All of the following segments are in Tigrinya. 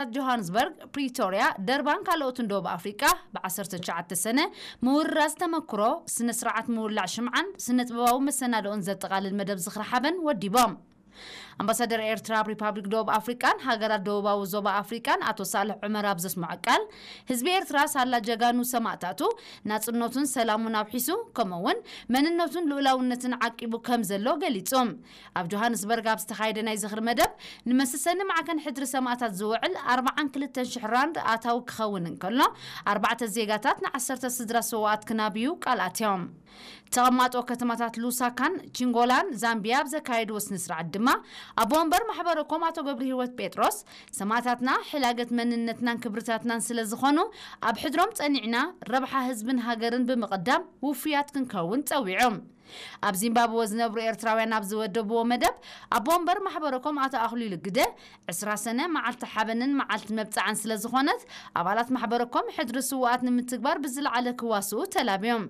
ከተማታት ጆሃንስበርግ፣ ፕሪቶርያ፣ ደርባን ካልኦትን ደቡብ ኣፍሪቃ ብ19 ሰነ ምውርራስ ተመክሮ፣ ስነ ስርዓት ምውላዕ ሽምዓን ስነ ጥበባዊ መሰናድኦን ዘጠቓልል መደብ ዝኽሪ ሓበን ወዲቦም። ኣምባሳደር ኤርትራ ኣብ ሪፓብሊክ ደቡብ ኣፍሪቃን ሃገራት ደቡባዊ ዞባ ኣፍሪቃን ኣቶ ሳልሕ ዑመር ኣብ ዘስምዖ ቃል፣ ህዝቢ ኤርትራ ሳላ ጀጋኑ ሰማእታቱ ናጽነቱን ሰላሙን ኣብሒሱ፣ ከምኡ እውን መንነቱን ልኡላውነትን ዓቂቡ ከም ዘሎ ገሊጹ። ኣብ ጆሃንስበርግ ኣብ ዝተኻየደ ናይ ዝኽሪ መደብ፣ ንመሰሰኒ ማዕከን ሕድሪ ሰማእታት ዝውዕል ኣርባዓን ክልተን ሽሕ ራንድ ኣታዊ ክኸውን እንከሎ፣ ኣርባዕተ ዜጋታት ንዓሰርተ ስድራ ስውኣት ክናብዩ ቃል ኣትዮም። ተቐማጦ ከተማታት ሉሳካን ቺንጎላን ዛምቢያ ኣብ ዘካየድዎ ስነ ስርዓት ድማ፣ ኣቦ ወንበር ማሕበረኮም ኣቶ ገብረ ህይወት ጴጥሮስ፣ ሰማእታትና ሕላገት መንነትናን ክብርታትናን ስለ ዝኾኑ፣ ኣብ ሕድሮም ጸኒዕና ረብሓ ህዝብን ሃገርን ብምቕዳም ውፉያት ክንከውን ጸዊዖም። ኣብ ዚምባብወ ዝነብሩ ኤርትራውያን ኣብ ዝወደብዎ መደብ፣ ኣቦ ወንበር ማሕበረኮም ኣቶ ኣኽሊሉ ግደ፣ ዕስራ ሰነ መዓልቲ ሓበንን መዓልቲ መብጽዓን ስለ ዝኾነት፣ ኣባላት ማሕበረኮም ሕድሪ ስውኣት ንምትግባር ብዝለዓለ ክዋስኡ ተላብዮም።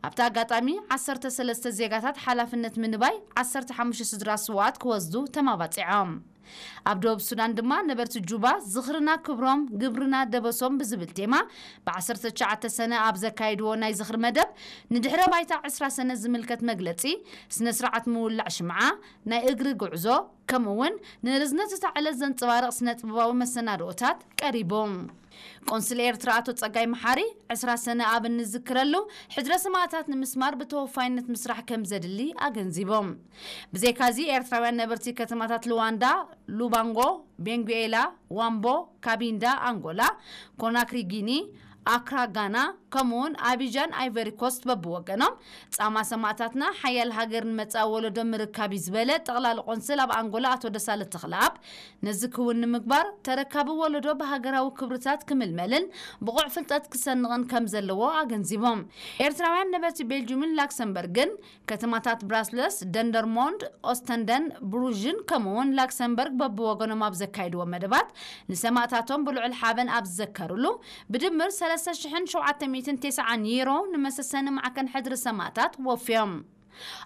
ኣብቲ ኣጋጣሚ፣ ዓሰርተ ሰለስተ ዜጋታት ሓላፍነት ምንባይ፣ ዓሰርተ ሓሙሽተ ስድራ ስውኣት ክወስዱ ተማባጺዖም። ኣብ ደቡብ ሱዳን ድማ ነበርቲ ጁባ፣ ዝኽርና ክብሮም፣ ግብርና ደበሶም ብዝብል ቴማ፣ ብ19 ሰነ ኣብ ዘካየድዎ ናይ ዝኽሪ መደብ፣ ንድሕረ ባይታ ዕስራ ሰነ ዝምልከት መግለጺ፣ ስነ ስርዓት ምውላዕ ሽምዓ፣ ናይ እግሪ ጉዕዞ፣ ከምኡ እውን ንርዝነት እታ ዕለት ዘንጸባርቕ ስነ ጥበባዊ መሰናድኦታት ቀሪቦም። ቆንስል ኤርትራ ኣቶ ጸጋይ መሓሪ፣ ዕስራ ሰነ ኣብ እንዝክረሉ፣ ሕድረ ሰማእታት ንምስማር ብተወፋይነት ምስራሕ ከም ዘድሊ ኣገንዚቦም። ብዘይካዚ፣ ኤርትራውያን ነበርቲ ከተማታት ሉዋንዳ፣ ሉባንጎ፣ ቤንጉኤላ፣ ዋምቦ፣ ካቢንዳ፣ ኣንጎላ፣ ኮናክሪ፣ ጊኒ፣ ኣክራ፣ ጋና፣ ከምኡውን ኣቢጃን፣ ኣይቨሪ ኮስት በብወገኖም፣ ጻማ ሰማእታትና ሓያል ሃገር ንመጻኢ ወለዶ ምርካብ እዩ ዝበለ ጠቕላሊ ቆንስል ኣብ ኣንጎላ ኣቶ ደሳለ ተኽለኣብ፣ ነዚ ክውን ንምግባር ተረካቢ ወለዶ ብሃገራዊ ክብርታት ክምልመልን ብቑዕ ፍልጠት ክሰንቕን ከም ዘለዎ ኣገንዚቦም። ኤርትራውያን ነበርቲ ቤልጁምን ላክሰምበርግን፣ ከተማታት ብራስለስ፣ ደንደርሞንድ፣ ኦስተንደን፣ ብሩዥን ከምኡውን ላክሰምበርግ በብወገኖም ኣብ ዘካይድዎ መደባት፣ ንሰማእታቶም ብልዑል ሓበን ኣብ ዝዘከሩሉ፣ ብድምር ሰለስተ ሽሕን ሸውዓተ ሚእትን ተስዓን ዩሮ ንመሰሰኒ ማዕከን ሕድሪ ሰማእታት ወፍዮም።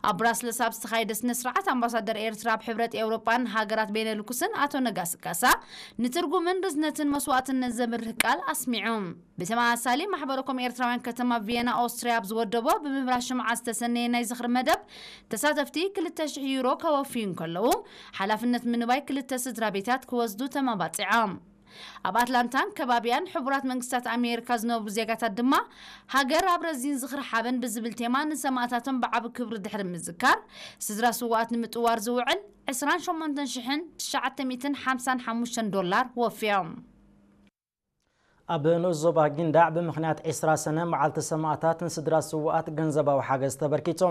ኣብ ብራስለስ ኣብ ዝተኻየደ ስነ ስርዓት፣ ኣምባሳደር ኤርትራ ኣብ ሕብረት ኤውሮጳን ሃገራት ቤነልኩስን ኣቶ ነጋሲ ካሳ፣ ንትርጉምን ርዝነትን መስዋእትነት ዘብርህ ቃል ኣስሚዑ። ብተመሳሳሊ፣ ማሕበረኮም ኤርትራውያን ከተማ ቪየና ኦስትርያ ኣብ ዝወደቦ ብምብራህ ሽምዓ ዝተሰነየ ናይ ዝኽሪ መደብ፣ ተሳተፍቲ ክልተ ሽሕ ዩሮ ከወፍዩ እንከለዉ፣ ሓላፍነት ምንባይ ክልተ ስድራ ቤታት ክወስዱ ተመባጺዖም። ኣብ ኣትላንታን ከባቢያን ሕቡራት መንግስታት ኣሜሪካ ዝነብሩ ዜጋታት ድማ፣ ሃገር ኣብ ረዚን ዝኽሪ ሓበን ብዝብል ቴማ ንሰማእታቶም ብዓቢ ክብሪ ድሕሪ ምዝካር፣ ስድራ ስውኣት ንምጥዋር ዝውዕል ዕስራን ሸሞንተን ሽሕን ትሽዓተ ሚእትን ሓምሳን ሓሙሽተን ዶላር ወፍዮም። ኣብ ንኡስ ዞባ ጊንዳዕ ብምኽንያት ዕስራ ሰነ መዓልቲ ሰማእታት ንስድራ ስውኣት ገንዘባዊ ሓገዝ ተበርኪቱ።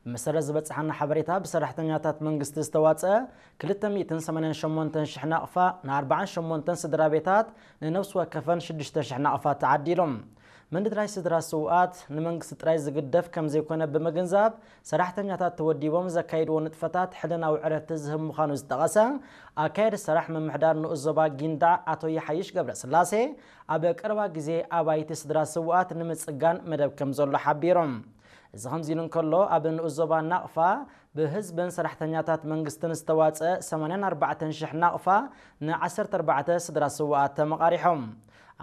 ብመሰረት ዝበጽሓና ሓበሬታ፣ ብሰራሕተኛታት መንግስቲ ዝተዋጽአ ክልተ ሚእትን ሰማንያን ሸሞንተን ሽሕ ናቕፋ ንኣርባዓን ሸሞንተን ስድራ ቤታት፣ ንነፍሲ ወከፈን ሽዱሽተ ሽሕ ናቕፋ ተዓዲሎም። ምንድራይ ስድራ ስውኣት ንመንግስቲ ጥራይ ዝግደፍ ከም ዘይኮነ ብምግንዛብ፣ ሰራሕተኛታት ተወዲቦም ዘካይድዎ ንጥፈታት ሕልናዊ ዕረፍቲ ዝህብ ምዃኑ ዝጠቐሰ ኣካየዲ ስራሕ ምምሕዳር ንኡስ ዞባ ጊንዳዕ ኣቶ ይሓይሽ ገብረስላሴ፣ ኣብ ቀረባ ግዜ ኣባይቲ ስድራ ስውኣት ንምጽጋን መደብ ከም ዘሎ ሓቢሮም። እዚ ከምዚ ኢሉ እንከሎ፣ ኣብ ንኡስ ዞባ ናቕፋ ብህዝብን ሰራሕተኛታት መንግስትን ዝተዋጽአ ሰማንያን ኣርባዕተን ሽሕ ናቕፋ ን ዓሰርተ ኣርባዕተ ስድራ ስውኣት ተመቓሪሖም።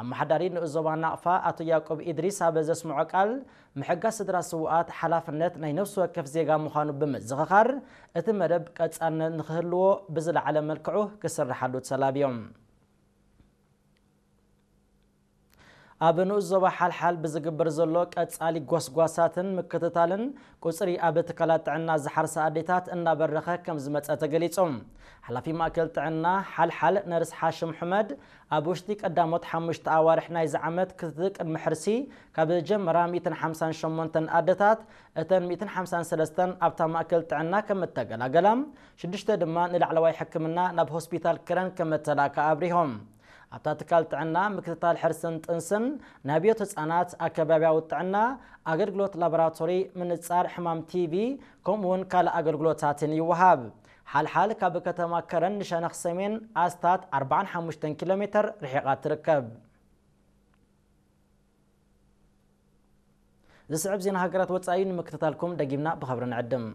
ኣመሓዳሪ ንኡስ ዞባ ናቕፋ ኣቶ ያዕቆብ ኢድሪስ ኣብ ዘስምዖ ቃል፣ ምሕጋዝ ስድራ ስውኣት ሓላፍነት ናይ ነፍሲ ወከፍ ዜጋ ምዃኑ ብምዝኽኻር፣ እቲ መደብ ቀጻልነት ንኽህልዎ ብዝለዓለ መልክዑ ክስርሓሉ ተላብዮም። ኣብ ንኡስ ዞባ ሓልሓል ብዝግበር ዘሎ ቀጻሊ ጎስጓሳትን ምክትታልን፣ ቁጽሪ ኣብ ትካላት ጥዕና ዝሓርሳ ኣዴታት እናበረኸ ከም ዝመጸ ተገሊጹ። ሓላፊ ማእከል ጥዕና ሓልሓል ነርስ ሓሽም ሑመድ፣ ኣብ ውሽጢ ቀዳሞት ሓሙሽተ ኣዋርሕ ናይዚ ዓመት ክትትል ቅድሚ ሕርሲ ካብ ጀመራ ሚእትን ሓምሳን ሸሞንተን ኣደታት፣ እተን ሚእትን ሓምሳን ሰለስተን ኣብታ ማእከል ጥዕና ከም እተገላገላ፣ ሽዱሽተ ድማ ንላዕለዋይ ሕክምና ናብ ሆስፒታል ከረን ከም እተላእካ ኣብሪሆም። ኣብታ ትካል ጥዕና ምክትታል ሕርስን ጥንስን፣ ናይ ኣብዮት ህጻናት፣ ኣከባብያዊ ጥዕና፣ ኣገልግሎት ላቦራቶሪ፣ ምንጻር ሕማም ቲቪ፣ ከምኡውን ካልእ ኣገልግሎታትን ይወሃብ። ሓልሓል ካብ ከተማ ከረን ንሸነኽ ሰሜን ኣስታት ኣርባዓን ሓሙሽተን ኪሎ ሜተር ርሒቓ ትርከብ። ዝስዕብ ዜና ሃገራት ወጻኢ ንምክትታልኩም ደጊምና ብኸብሪ ንዕድም።